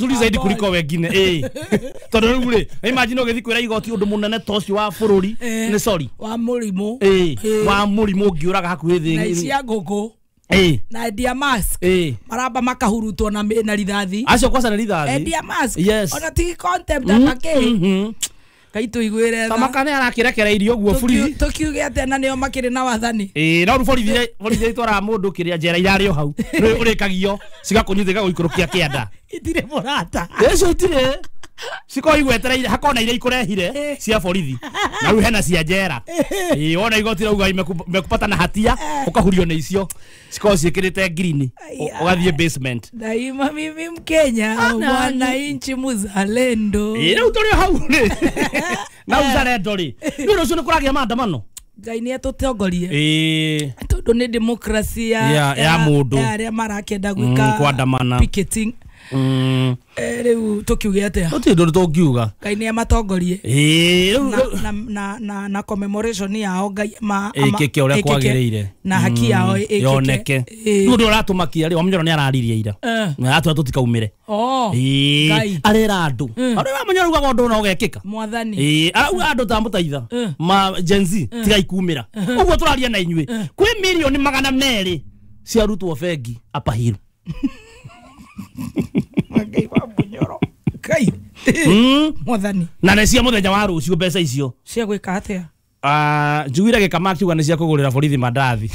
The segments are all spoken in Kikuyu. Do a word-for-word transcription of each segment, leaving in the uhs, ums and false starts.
Nzuri zaidi kuliko wengine eh tondu riu ri imagine ugithi kwira igoti undu munene ta ucio wa bururi ni sorry wa murimu eh wa murimu ungiuraga hakuhi thi na cia nguku eh na endia mask eh maramba makahurutwo na na rithathi acio kwaca na rithathi endia mask yes. Ona ti contempt atake kai tuiguire tha makane arakirekera irio guo buri tukiuge atia na nio makiri na wathani eh no borithi borithi itwara mundu kiria njera irari o hau urikagio cigakunyithika guikurukia kianda itire murata icio itire ciko igwetereire hakona iria ikurehire cia borithi na riu hena cia njera eh wona igoti rauga imekupata na hatia ukahurio ni icio ciko ciikirite green ugathie basement. Daima mimi Mkenya mwananchi muzalendo eh riu turi hau ri na uzalendo ri ni rucio ni kuragia maandamano Ngai ni atutongorie eh tondu ni democracy ya ya mundu aria marakenda gwika kwandamana picketing. Mm. Eh riu tukiuge atia tuti ndu tungiuga Ngai ni amatongorie eh na na na na commemoration yao Ngai ma ikike uria kwagiriire na haki yao ikike yoneke riu ndu uratumakia ri Wamunyoro ni araririe ira na atua tutikaumire oh eh arera andu aria Wamunyoro ugaga undu no ugekika mwathani eh arauga andu ta mutaitha ma Gen Z tigai kumira uguo turaria na inyui kwi milioni magana meri ciarutwo bengi Upper Hill. Ngai wa Munyoro Ngai mwathani na nĩ cia muthenya wa rucio mbeca icio cia gwika atia ah njugire gikama kiuga nĩ cia kugurira borithi mandathi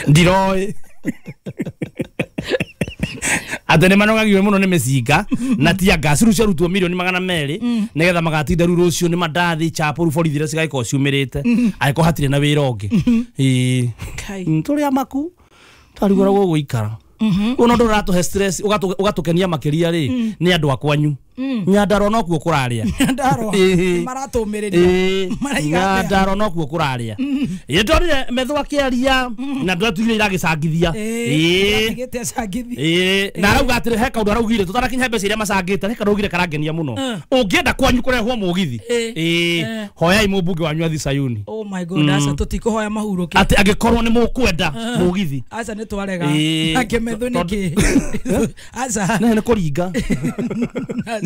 ndiroi ate nĩ manogagio muno nĩ mĩcinga na tia gas rĩu ciarutwo milioni magana merĩ nĩgetha magatinda rĩu rũciũ nĩ mandathi chapo rĩu borithi iria cigagĩkorwo ciumĩrĩte angĩkorwo hatirĩ na wĩra ũngĩ ĩĩ tũrĩ amaku twarigwo gũgũikara uno ndu ratuhe stress ugatukenia makiria ri ni andu akwanyu Nyandarua no kuo kuraria Nyandarua maratumiria maraiga Nyandarua no kuo kuraria ĩ ndorire Methu akiaria na ndwatuire iragicangithia ĩ tigite acangithia ĩ na arauga atĩrĩ he kaundu araugire tutarakinya mbeca iria macangĩte he kaundu araugire karangenia mũno ũngĩenda kwanyu kũrehwo mũgithi ĩ hoyai mũmbunge wanyu athi Sayuni. Oh my god, aca tutikuhoya mahuruke atĩ angĩkorwo nĩ mũkwenda mũgithi aca nĩ twarega ake Methu nĩkĩ aca nĩ kũringa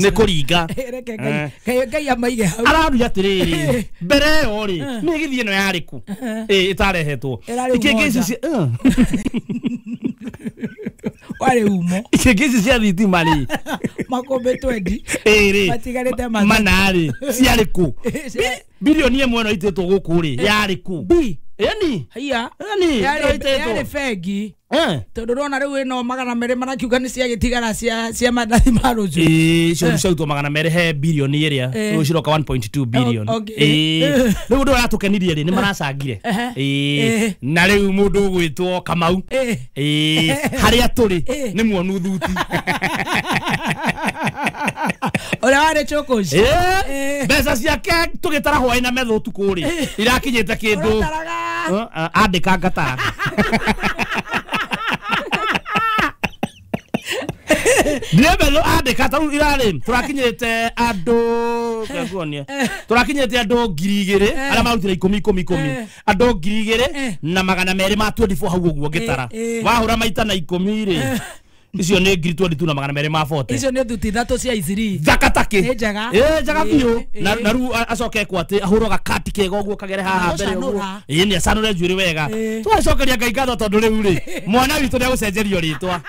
nĩ kũringa reke Ngai Ngai amaige hau araruia atiriri mbere ĩyo rĩ mĩgithi ĩno yarĩ kũ ĩ ĩtarehetwo ikĩngĩ ici cia warĩ umo ikĩngĩ ici cia thitima rĩ makũmbĩ twendi ĩ rĩ matigarĩte mana rĩ ciarĩ kũ bilioni ĩmwe ĩno itĩtwo gũkũ rĩ yarĩ kũ ĩni haiya ĩni yarĩ bengi tondu rona riu ino magana mere marakiuga ni ciagitigara cia cia mandathi ma rucio ii cio ciarutwo magana mere he bilioni iria riu ciroka one point two billion ii riu ndu aratukenirie ri ni maracangire ii na riu mundu ugwitwo Kamau ii haria turi ni muonu thuti uria wari chukuci mbeca ciake tugitara hwai na Methu utuku ri irakinyite kindu andika ngatara Ndire andika taru irari turakinyite andu ngakuonia turakinyite andu ngiri igiri aria marutire ikumi ikumi ikumi andu ngiri igiri na magana meri ma twenty four hau uguo ngitara wahura maita na ikumi ri icio ni ngiri twenty two na magana meri ma forty icio ni thuti ithatu cia iciri thakataki ni njega eh njega biu na na ru acoke kwa ati ahurwo gakati kega uguo kagere haha mbere uguo ii ni acanure njuiri wega twacokeria Ngai ngatho tondu riu ri mwana witu ni agucenjerio ritwa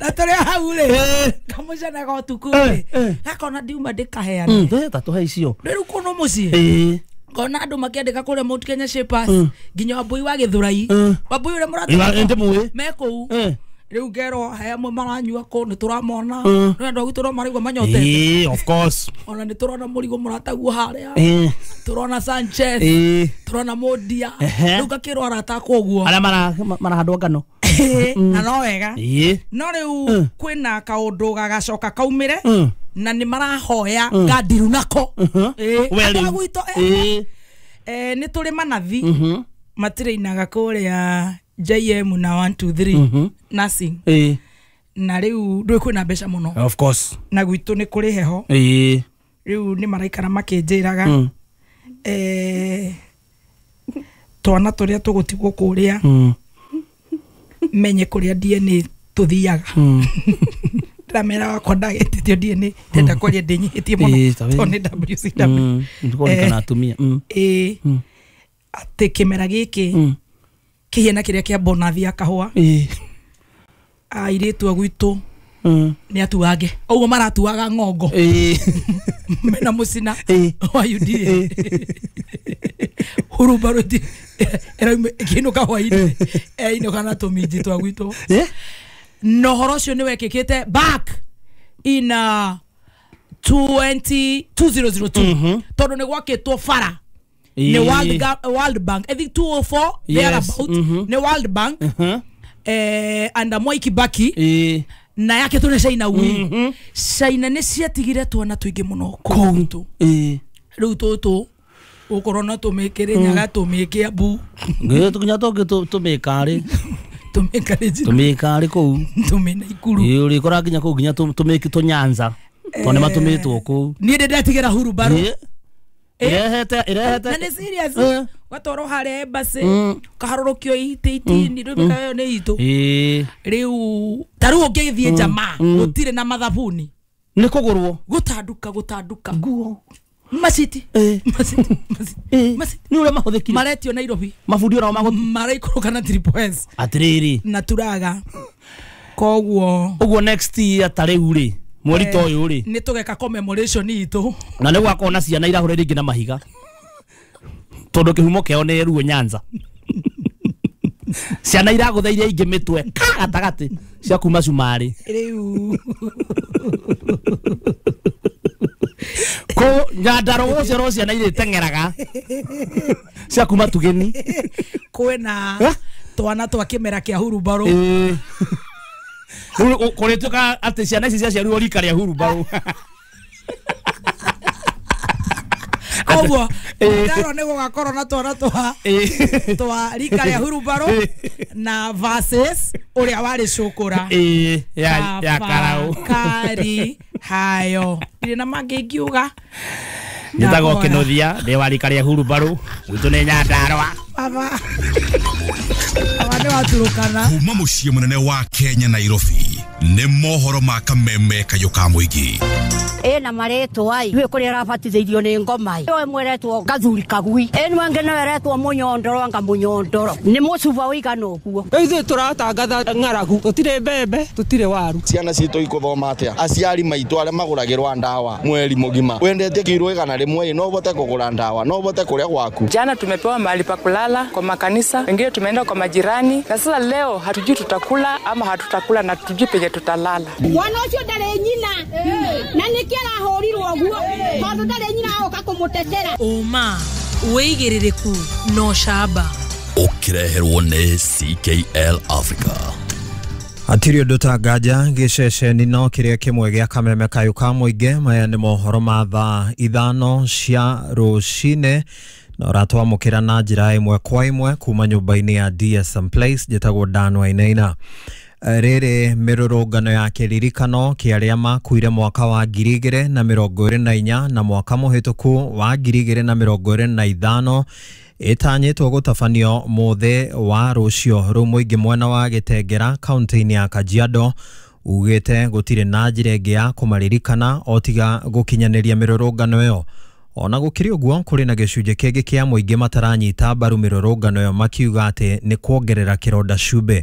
na tũrĩ hau rĩ kamũcanaga ũtukũ rĩ gakona ndiuma ndĩkaheane tatuhe icio rĩu kũno mũciĩ ngona andũ makĩandĩka kũrĩa Mount Kenya Shapers nginya Wambui wa Gĩthũrai Wambui ũrĩa mũrata me kũu rĩu ngerwo he amwe maranyua kũ nĩ tũramona nĩ andũ a gwitũ no maraigua manyotete of course ona nĩ tũrona mũrigo mũrataguo harĩa tũrona Sanchez tũrona Mũndia rĩu ngakĩrwo arata akwa ũguo arĩa marahandwo ngano na no wega no rĩu kwĩna kaũndũ gagacoka kaumĩre na nĩ marahoya ngandiru nako andũ a gwitũ nĩ tũrĩ manathi matirĩinaga kũrĩa J M na one two three nursing na rĩu ndũĩ kwĩna mbeca mũno of course na gwitũ nĩ kũrĩ heho rĩu nĩ maraikara makĩnjĩraga twana tũrĩa tũgũtigwo kũrĩa Menye kũrĩa D N A tũthiaga. Ndĩramera wakwa ndagĩtĩtio D N A ndenda kwaria ndĩnyihĩtie mũno tondũ nĩ W C W. Nĩkũrikana atumia. Ĩĩ atĩ kĩmera gĩkĩ kĩhiana kĩrĩa kĩa bonathi ya kahũa. Airĩtu a gwitũ nĩ atuange ũguo maratuaga ng'ongo mena mũcina wa U D A hurumbarũ ĩrauma ĩkĩinũka hwainĩ ĩinũka na tũminji twa gwitũ. Na ũhoro ũcio nĩ wekĩkĩte back in uh, twenty two tondũ nĩ gwakĩtwo bara nĩ World, World Bank I think two oh four thereabout nĩ World Bank eh, and Mwai Kibaki na yake tå nä China wi China nä ciatigire twana tũingĩ mũno kũu gwitũ. Rĩu tũtũ ũkorwo no tũmĩkĩre Nyaga tũmĩke Embu nginya tũngĩ tũmĩkarĩ tũmĩkarĩ tũmĩkarĩ kũu tũmĩ Naikuru ĩĩ ũrĩkora nginya kũu nginya tũmĩki tũnyanza tondũ nĩ matũmĩtwo kũu. Niĩ ndĩ ndatigĩra hurumbarũ ĩrehete ĩrehete na nĩ serious gatwarwo harĩa embassy kaharũrũkio itĩ itini rĩu mĩkayo nĩ itũ. Rĩu ta rĩu ũngĩthiĩ jamaa gũtirĩ na mathabuni nĩ kũgũrwo gũtanduka gũtanduka nguo maciti maciti maciti nĩ ũrĩa mahũthĩkire maretio Nairobi mabundi onao magũ maraikũrũka na triple S atĩrĩrĩ na turaga koguo ũguo next year ta rĩu rĩ mweri ta ũyũ rĩ nĩ tũgeka commemoration itũ na nĩ gwakorwo na ciana irahũra rĩngĩ na mahiga tondũ kĩhumo kĩao nĩ Ruo Nyanza. Ciana iragũtha iria ingĩ mĩtwe gatagatĩ cia kuma cumarĩ rĩu kũ Nyandarũa gũciarwo ciana irĩteng'eraga cia kuma Tugeni kwĩna twana twa kĩmera kĩa hurumbarũ kũrĩtuĩka atĩ ciana ici ciaciarirwo rika rĩa hurumbarũ. Koguo ndaro nĩ gũgakorwo na twana twa twa rika rĩa hurumbarũ na versus ũrĩa warĩ cũkũra ya ya karau kari hayo ndirĩ na mangĩ ingiuga. Njĩtagwo Kĩnuthia ndĩ wa rika rĩa hurumbarũ gwitũ nĩ Nyandarũa. Baba baba nĩ waturũkana. Kuma mũciĩ mũnene wa Kenya Nairobi nĩ mohoro ma kameme kayũ ka mũingĩ. Ena maretwo ai we kuri arabatithĩirio nĩ ngoma ĩ mweretwo gathuri kagui ĩ nwangĩ no eretwo mũnyondoro anga mũnyondoro nĩ mũcuba ũigana ũguo. Ithuĩ tũratangatha ng'aragu tũtirĩ mbembe tũtirĩ waru. Ciana citũ ikuthoma atĩa? Aciari maitũ arĩa magũragĩrwa ndawa mweri mũgima wendete kiro igana rĩmwe no ũhote kũgũra ndawa no ũhote kũrĩa gwaku. Jana tumepewa mahali pa kulala kwa makanisa, wengine tumeenda kwa majirani, na sasa leo hatujui tutakula ama hatutakula na hatujui penye tutalala. Mwana ũcio ndarĩ nyina na nĩkĩ arahũrirwo ũguo tondũ ndarĩ nyina agoka kũmũtetera. Ũma wĩigĩrĩrĩku no camba ũkĩreherwo nĩ C K L Africa. Hatirĩ ũndũ ta nganja gĩceceni no kĩrĩa kĩmwe gĩa kameme kayũ ka mũingĩ. Maya nĩ mohoro ma thaa ithano cia rũcinĩ na ũratwamũkĩra na njĩra ĩmwe kwa ĩmwe kuma nyũmba-inĩ ya D S M Place. Njĩtagwo Dan Wainaina. Rĩrĩ mĩrũrũngano ya kĩririkano kĩa arĩa makuire mwaka wa ngiri igĩrĩ na mĩrongo ĩrĩ na inya na mwaka mũhĩtũku wa ngiri igĩrĩ na mĩrongo ĩrĩ na ithano ĩtanyĩtwo gũtabanio mũthĩ wa rũciũ. Rĩu mũingĩ mwena wa Gĩtengera kaunti-inĩ ya Kajiado ugĩte gũtirĩ na njĩra ĩngĩ ya kũmaririkana o tiga gũkinyanĩria mĩrũrũngano ĩyo. Ona gũkĩrĩ ũguo kũrĩ na gĩcunjĩ kĩngĩ kĩa mũingĩ mataranyita mbaru mĩrũrũngano ĩyo makiuga atĩ nĩ kuongerera kĩronda cumbĩ.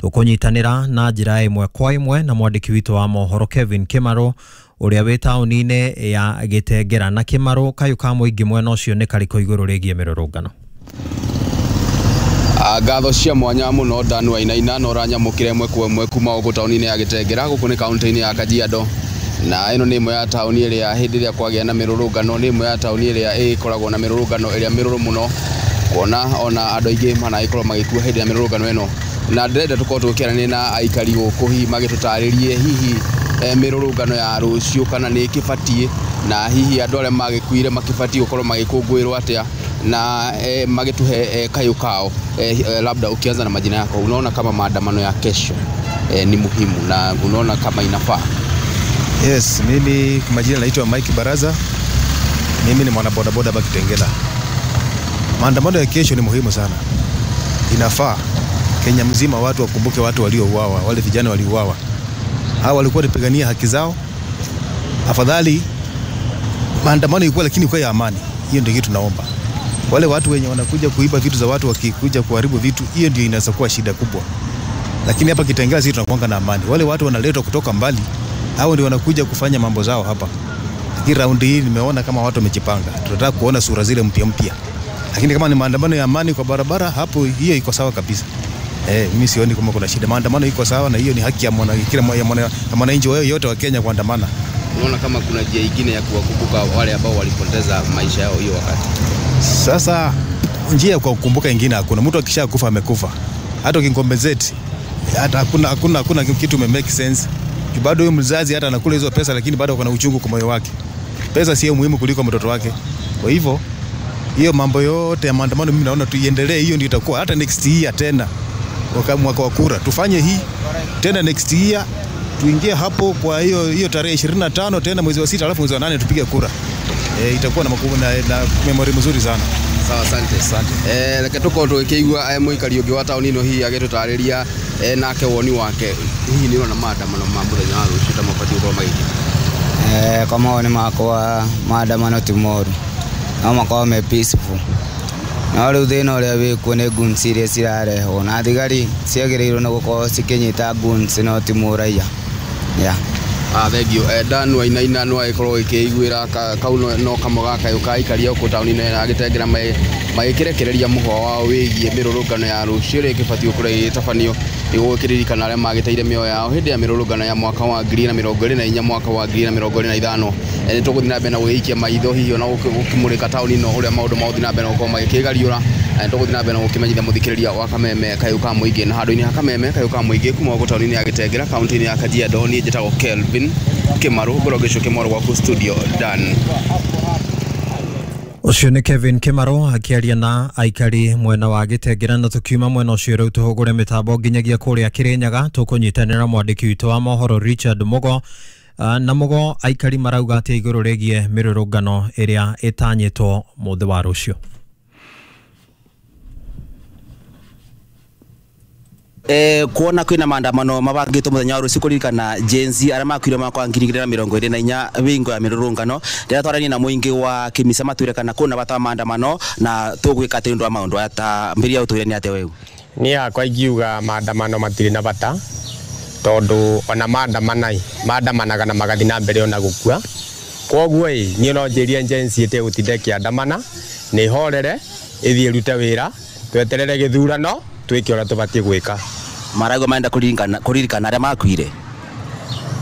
Tũkũnyitanĩra na njĩra ĩmwe kwa ĩmwe na mwandĩki witũ wa mohoro Kevin Kĩmarũ ũrĩa wĩ taũni-inĩ ya Gĩtengera. Na Kĩmarũ, kayũ ka mũingĩ mwena ũcio nĩ karĩkũ igũrũ rĩgiĩ mĩrũrũngano? Ngatho cia mwanya muno Dan Wainaina na ũranyamũkĩra ĩmwe kwa ĩmwe kuma gũkũ taũni-inĩ ya Gĩtengera gũkũ nĩ kaunti-inĩ ya Kajiado. Na ĩno nĩ ĩmwe ya taũni ĩrĩa hĩndĩ ĩrĩa kwagĩa na mĩrũrũngano nĩ ĩmwe ya taũni ĩrĩa ĩkoragwo na mĩrũrũngano ĩrĩa mĩrũrũ mũno kuona ona andũ aingĩ managĩkorwo magĩkua hĩndĩ ya mĩrũrũngano ĩno. Na ndĩrenda tũkorwo tũkĩaranĩria na aikari gũkũ hihi magĩtũtarĩrie hihi mĩrũrũngano ya rũciũ kana nĩ ĩkĩbatiĩ na hihi andũ arĩa magĩkuire makĩbatiĩ gũkorwo magĩkũngũĩrwo atĩa na eh, magĩtũhe eh, kayũ kao. Eh, labda ukianza na majina yako, unaona kama maandamano ya kesho eh, ni muhimu na unaona kama inafaa? Yes, mimi kwa majina naitwa Mike Baraza. Mimi ni mwana boda boda hapa Kitengela. Maandamano ya kesho ni muhimu sana. Inafaa Kenya mzima watu wakumbuke watu waliouawa, wale vijana waliouawa. Hawa walikuwa wanapigania haki zao. Afadhali maandamano ilikuwa, lakini kwa ya amani. Hiyo ndio kitu tunaomba. Wale watu wenye wanakuja kuiba vitu za watu, wakikuja kuharibu vitu, hiyo ndio inaweza kuwa shida kubwa. Lakini hapa Kitengela sisi tunakuanga na amani. Wale watu wanaletwa kutoka mbali, hao ndio wanakuja kufanya mambo zao hapa. Lakini raundi hii nimeona kama watu wamejipanga. Tunataka kuona sura zile mpya mpya. Lakini kama ni maandamano ya amani kwa barabara, hapo hiyo iko sawa kabisa. Eh, mimi sioni kama kuna shida. Maandamano iko sawa na hiyo ni haki ya mwana kila mwananchi yote wa Kenya kuandamana. Unaona kama kuna njia nyingine ya kuwakumbuka wale ambao walipoteza maisha yao hiyo wakati? Sasa njia ya kukumbuka nyingine hakuna. Mtu akishakufa amekufa. Hata ukincompensate, hata hakuna hakuna hakuna kitu me make sense. Bado huyo mzazi hata anakula hizo pesa, lakini bado kuna uchungu kwa moyo wake. Pesa sio muhimu kuliko mtoto wake. Kwa hivyo hiyo mambo yote ya maandamano mimi naona tuiendelee, hiyo ndio itakuwa hata next year tena. Mwaka wa kura tufanye hii tena next year, tuingie hapo kwa hiyo hiyo tarehe ishirini na tano tena mwezi wa sita, alafu mwezi wa nane tupige kura. E, itakuwa na makubu na, na memory mzuri sana. Sawa, asante. Asante. Eh, reke tukorwo tugikĩigua mũikari ũngĩ wa taũni ĩno hihi agĩtũtarĩria eh, nake woni wake hihi nĩ ũrona maandamano ma mũthenya wa rũciũ ta mabatiĩ gũkorwo magĩkĩka? Eh, kwa maoni makwa maandamano ti moru, no makorwo me peaceful. No rĩu thĩna ũrĩa wĩkuo nĩ goons iria cirarehwo na thigari ciagĩrĩirwo nĩ gũkorwo cikĩnyita goons no ti mũraiya. Yeah. Ah, thank you. Eh, Dan Wainaina no agĩkorwo ĩkĩiguĩra kau no kamwe ga kayũ ka aikari a gũkũ taũni-inĩ na Gĩtengera magĩkĩrekereria mũhwa wao wĩgiĩ mĩrũrũngano ya rũciũ ĩrĩa ĩgĩbatiĩ gũkorwo ĩgĩtabanio nĩguo gũkĩririkana arĩa magĩteire mĩoyo yao hĩndĩ ya mĩrũrũngano ya mwaka wa ngiri na mĩrongo ĩrĩ na inya mwaka wa ngiri na mĩrongo ĩrĩ na ithano. Nĩ tũgũthiĩ na mbere na gũgĩikia maitho hihi ona gũkĩmũrĩka taũni ĩno ũrĩa maũndũ magũthiĩ na mbere na gũkorwo magĩkĩgariũra. Nĩ tũgũthiĩ na mbere na gũkĩmenyithia mũthikĩrĩria wa Kameme Kayũ ka Mũingĩ na handũ-inĩ ha Kameme Kayũ ka Mũingĩ kuma gũkũ taũni-inĩ ya Gĩtengera kaunti-inĩ ya Kajiado. Niĩ njĩtagwo Kelvin Kimaru, ngorwo ngĩcokia mwaro gwaku studio Dan. Ũcio nĩ Kevin Kimaru akĩaria na aikari mwena wa Gĩtengera. Na tũkiuma mwena ũcio rĩu tũhũgũre mĩtambo nginyagia kũrĩa Kĩrĩnyaga tũkũnyitanĩra mwandĩki witũ wa mohoro Richard Mugo. Na Mugo, aikari marauga atĩa igũrũ rĩgiĩ mĩrũrũngano ĩrĩa ĩtanyĩtwo mũthĩ wa rũciũ? Eh, kuona kwina maandamano mabangitwo muthenya wa rucio kuririkana Gen Z aria makuire mwaka wa ngiri igĩrĩ na mĩrongo ĩrĩ na inya wingo ya mĩrũrũngano. Ndĩratwarania na mũingĩ wa Kĩmisa matwĩre kana kũna bata wa maandamano na tũgwĩka atĩ ũndũ wa maũndũ aya ta mbĩrĩria ũtwĩre nĩ atĩa weũ. Niĩ hakwa ingiuga maandamano matirĩ na bata tondũ ona maandamana maandamanaga na magathiĩ na mbere ona gũkua. Koguo ĩ niĩ no njĩrie Gen Z ĩtegũtinda ĩkĩandamana, nĩ ĩhorere ĩthiĩ ĩrute wĩra, tweterere gĩthurano twĩke ũrĩa tũbatiĩ gwĩka. Marauga marenda kũririkana kũririkana arĩa makuire.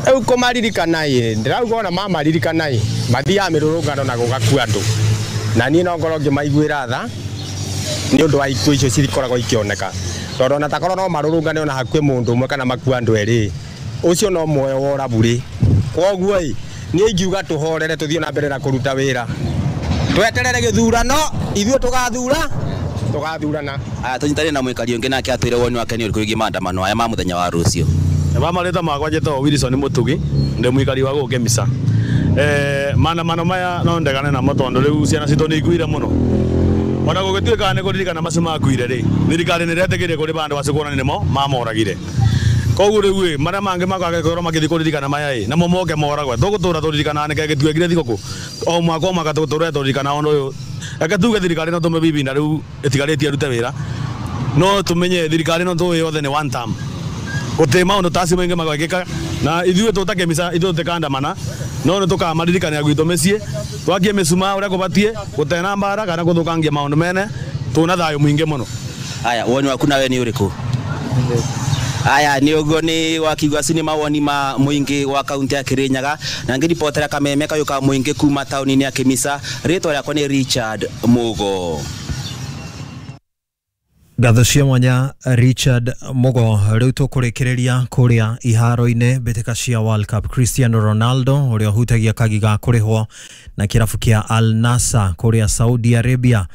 Rĩu kũmaririkana ĩ ndĩrauga ona mamaririkana ĩ mathiaga mĩrũrũngano na gũgakua andũ, na niĩ no ngorwo ngĩmaiguĩra tha nĩ ũndũ wa ikuũ icio cikoragwo ikĩoneka, tondũ ona takorwo no marũrũngane ona hakue mũndũ ũmwe kana makue andũ erĩ, ũcio no muoyo wora burĩ. Koguo ĩ niĩ ingiuga tũhorere tũthiĩ na mbere na kũruta wĩra, tweterere gĩthurano, ithuĩ tũgathura tũgathurana. Aya tũnyitane na mũikari ũngĩ nake atwĩre woni wake nĩ ũrĩkũ wĩgiĩ maandamano aya ma mũthenya wa rũciũ. Ba marĩtwa makwa njĩtagwo Wilson Mũtugi, ndĩ mũikari wa gũkũ Kĩmisa. Eh, maandamano maya no ndegane namo tondũ rĩu ciana citũ nĩ ikuire mũno. Ona gũgĩtuĩka nĩ kũririkana macio makuire rĩ, thirikari nĩ ĩretĩkĩria kũrĩ bandũ acio kuonania nĩmo mamoragire. Koguo rĩu ĩ marĩa mangĩ magagĩkorwo magĩthiĩ kũririkana maya ĩ namo moke moragwe, tũgũtũra tũririkanaga nĩkĩo gĩtuĩkire thigũkũ o mwaka o mwaka tũgũtũra tũririkanaga ũndũ ũyũ. Reke tuge thirikari no tũme bibi na rĩu ĩtigarĩtie ĩrute wĩra, no tũmenye thirikari no tũĩ yothe nĩ one term, gũtirĩ maũndũ ta acio maingĩ magekĩka na ithuĩ tũta Kĩmisa ithuĩ tũtikandamana no nĩ tũkamaririkania gwitũ mĩciĩ twakie mĩcumaa ũrĩa kũbatiĩ gũtena mbara kana gũthũkangia maũndũ mene tũna thayũ mũingĩ mũno. Aya, woni waku nawe nĩ ũrĩkũ? Aya nĩ ũguo nĩ wakiuga acio nĩ mawoni ma mũingĩ wa kaunti ya Kĩrĩnyaga na ngĩribotera Kameme Kayũ ka Mũingĩ kuma taũni-inĩ ya Kĩmisa. Rĩtwa rĩakwa nĩ Richard Mugo. Ngatho cia mwanya Richard Mugo. Rĩu tũkũrĩkĩrĩria kũrĩa iharo-inĩ mbĩtĩka cia World Cup. Cristiano Ronaldo ũrĩa ũhutagia kagi ga kũrĩhwo na kĩrabu kĩa Al Nassr kũrĩa Saudi Arabia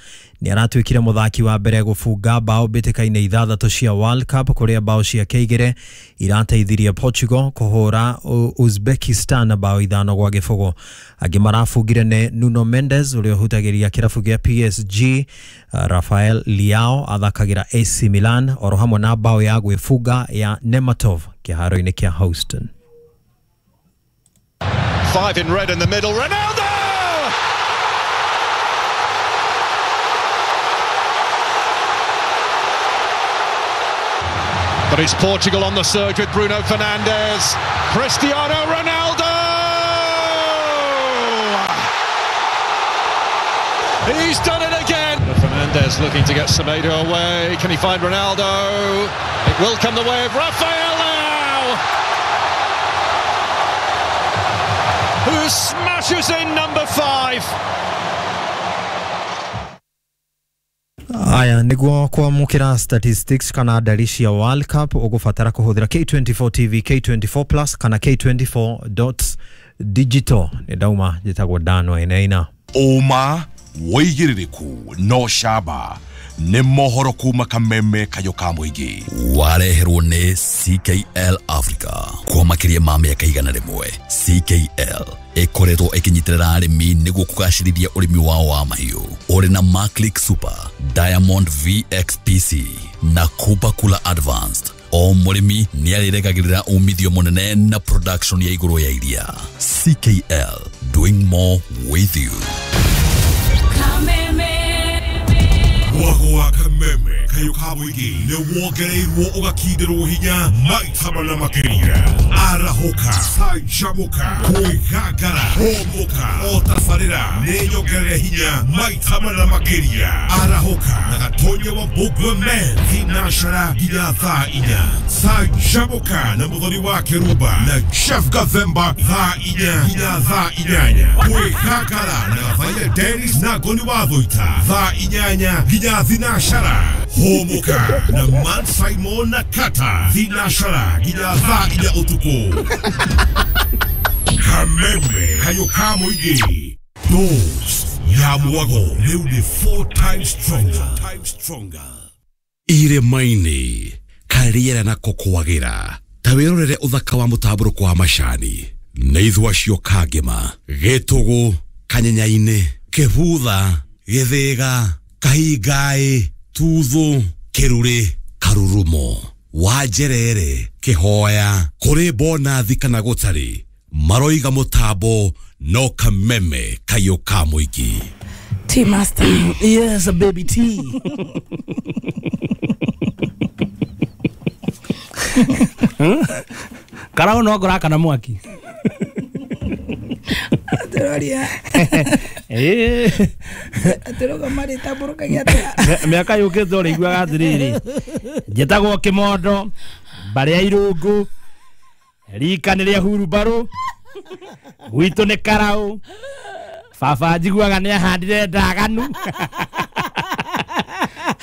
Nĩ aratuĩkire mũthaki wa mbere gũbunga bao mbĩtĩka-inĩ ithathatũ cia World Cup kũrĩa bao ciake igĩrĩ irateithirie Portugal kũhũra Uzbekistan bao ithano gwa gĩbũgũ. Angĩ marabungire nĩ Nuno Mendes ũrĩa ũhutagĩria kĩrabu gĩa P S G, Rafael Leao athakagĩra A C Milan oro hamwe na bao ya gwĩbunga ya Nematov kĩharo-inĩ kĩa Houston. Five in red in the middle, Ronaldo! But it's Portugal on the surge with Bruno Fernandes. Cristiano Ronaldo! He's done it again! Fernandes looking to get Semedo away. Can he find Ronaldo? It will come the way of Rafael Leao, who smashes in number five. Aya niguo kwamukira statistics kana ndari cia World Cup ugubatara kuhuthira K twenty-four T V, K twenty-four Plus kana K twenty-four dot digital. Ni ndauma njitagwo Dan Wainaina. Uma wigiririku no shaba ni mohoro kuma kameme kayo ka muingi wareherwo ni C K L Africa kwa makiria ma miaka igana rimwe. C K L ikoretwo ikinyitirira arimi niguo kugacirithia urimi wao wa mahiũ uri na Maclick Super, Diamond V X P C na Kuba Kula Advanced. O murimi ni ariregagirira umithio munene na production ya iguru ya iria. C K L, doing more with you. Mwago wa kameme kayo ka mũingĩ nĩ wongereirwo ũgakindĩrwo hinya maita mana makĩria. Arahũka, canjamũka, kwĩgangara, hũmũka, o tabarĩra nĩ nyongerere hinya maita mana makĩria. Arahũka na Gatonya wa Mbũgua Men thinacara nginya thaa inya. Canjamũka na Mũthoni wa Kĩrumba na Jeff Gathemba thaa inya nginya thaa inyanya. Kwĩgangara na Gathaiya Dennis na Ngoni wa Thũita thaa inyanya nginya thinashara. Hũmũka na Man Simon na Kata thinashara nginya thaa inya ũtukũ. Kameme kayo ka mũingĩ Dose ya mwago rĩu nĩ four times stronger. Stronger. Irĩma-inĩ karĩera nako kwagĩra ta wĩrorere ũthaka wa mũtambũrũko wa macani nĩ ithua cio Kangema, Gĩtũgũ, Kanyenyainĩ, Kĩbutha, Gĩthĩga, Kahingaĩ, Tuthu, Kĩrurĩ, Karurumo, Wanjerere, Kĩhoya, kũrĩ bonathi kana gũtarĩ maroiga mũtambo no kameme kayo ka mũingĩ. Tea master. Yes, a baby tea. Karao no ngora kana mwaki. Atĩroria. Eh. Atĩroga marĩ tambũrũkagia atĩa. Mĩaka yũkĩte ũrĩiguaga atĩrĩrĩ. Njĩtagwo Kĩmondo, mbarĩ ya Irũngũ, rika nĩ rĩa hurumbarũ, gwitũ nĩ Karaũ, baba njiguaga nĩ ahandire ndaganu,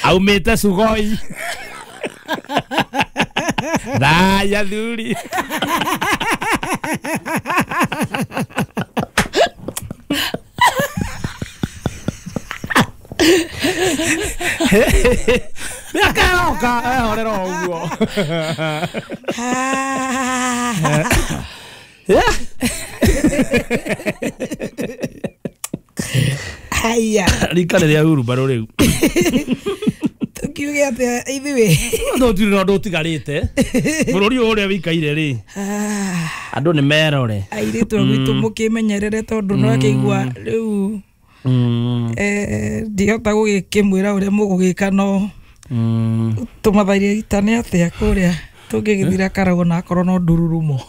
aumĩte Sugoi. Thaya thuri. Mĩaka ĩroka ehorera o ũguo. Haya. Rika nĩ rĩa hurumbarũ rĩu. Tukiuge atĩa ithuĩ? Tũtirĩ na ũndũ ũtigarĩte. Bũrũri ũyũ ũrĩa wĩikaire rĩ, andũ nĩ merore. Airĩtu a gwitũ mũkĩmenyerere tondũ no akĩigua rĩu eh ndihota gũgĩkĩmwĩra ũrĩa mũgũgĩka no tũmathaire ita nĩ atĩa kũrĩa tũngĩgĩthira Karagũ na akorwo no ndururumo.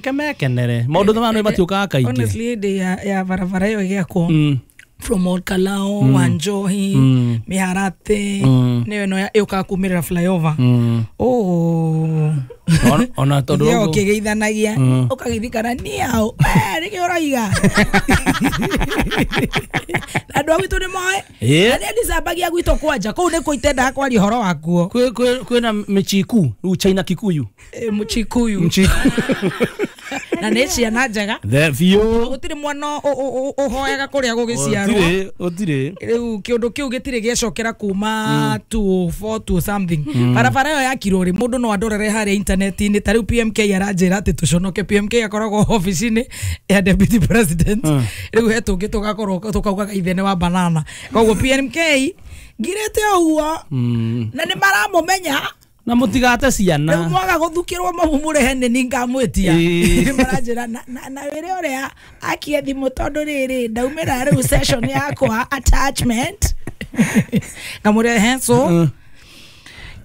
Kemekenere maũndũ maya nĩ matiũkaga kaingĩ. Honestly hĩndĩ ya ya barabara ĩyo ĩgĩakwo from Old Kalao, mm. Wanjohi, mm. Miharate, mm. nĩyo ĩno yũkaga kumĩrĩra flyover. Mm. Oh. Ona tondũ ũguo ũkĩgeithanagia ũkagĩthikana nĩ ao nĩkĩo ũroiga. Andũ a gwitũ nĩ moĩ na nĩ ndicambagia gwitũ kwanja kũu nĩkuo itendaga kwaria ũhoro wakuo. Kwĩ kwĩna mĩchiku rĩu China Kikuyu. Mũchikuyu. Mchiku. Na nĩ ciana njega. The biũ. Gũtirĩ mwana ũhoyaga kũrĩa gũgĩciarwo. Gũtirĩ, gũtirĩ. Rĩu kĩũndũ kĩu gĩtirĩ gĩacokera kuma two four two something. Barabara ĩyo yakirwo rĩ mũndũ no andorere harĩa internet-inĩ ta rĩu P M K aranjĩra atĩ tũconoke. P M K akoragwo ofici-inĩ ya deputy president. Rĩu he tũngĩ tũgakorwo tũkaugaga ithe nĩ wa banana. Koguo P M K ngirĩte ũguo na nĩ maramũmenya na mutigate ciana. Rĩu mwaga gũthukĩrwo mamu mũrehe nĩ ningamwĩtia. Maranjĩra na na wĩre ũrĩa akie thimũ tondũ rĩrĩ ndaumĩra rĩu session yakwa attachment. Ngamũrehe so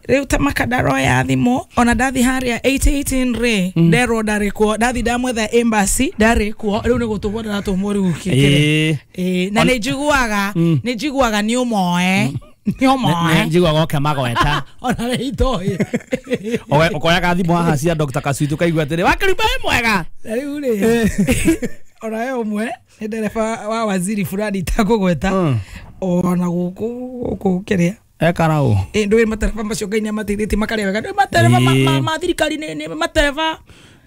rĩu ta makadaro ya thimũ ona ndathi harĩa eight eighteen rĩ nderwo ndarĩ kuo ndathi ndamwetha embassy ndarĩ kuo rĩu nĩ gũtũmwo ndĩratũmwo rĩu kĩkĩre. Ĩĩ na nĩ njiguaga nĩ njiguaga nĩ ũmoe nĩ ũmoe njiguaga oke magweta ona rĩ itoĩ ũkoyaga thimũ haha cia Doctor Kasuitu ũkaigua atĩrĩ wakĩrumba wĩ mwega. Rĩu rĩ ona we ũmwe nĩ ndereba wa waziri fulani itakũgweta ona gũkũ gũkũ kĩrĩa ekarau ĩ ndũĩ matereba macio Ngai nĩamateithĩtie makarĩa wega ndũĩ matereba ma thirikari nĩ matereba